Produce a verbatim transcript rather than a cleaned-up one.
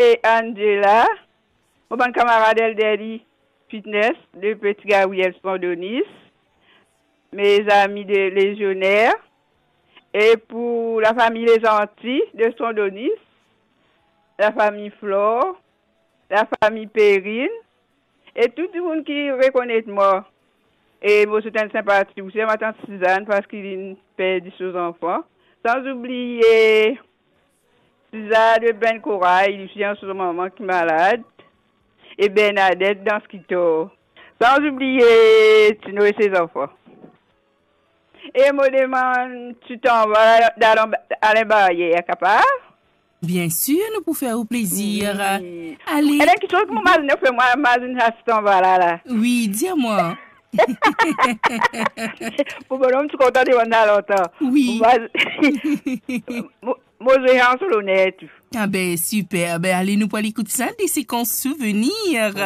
e Angela, mo bann kamarad Elderly Fitness de Petit Gabriel Son Donis, mes amis de Légionnaire, e pou lafami Les Antilles de Son Donis, lafami Flore, lafami Perrine, e tou dimoun ki rekonet mwa. E mo swet enn sinpati osi a matant Sizann, parski linn perdi so zanfan. San oubliye Sizann de Benn Koray, li osi ena so manman ki malad. E Bernadette dan Skitor. San oubliye Tino e se zanfan. E mo demann tou tanba Alain Barrière, kapav? Bien sûr, nou pou fer ou plezir. Wi. Ale. Ena kisoz ki mo mazinn fer, mo mazinn aste anba la, la. Wi, dir mwa. Pou bonom ti kontan demann la lontan. Wi. Mo maz-, mo, mo zwe an so loner tou. Ah ben, super. Ben, ale, nou pou al ekout sa, des séquences souvenirs.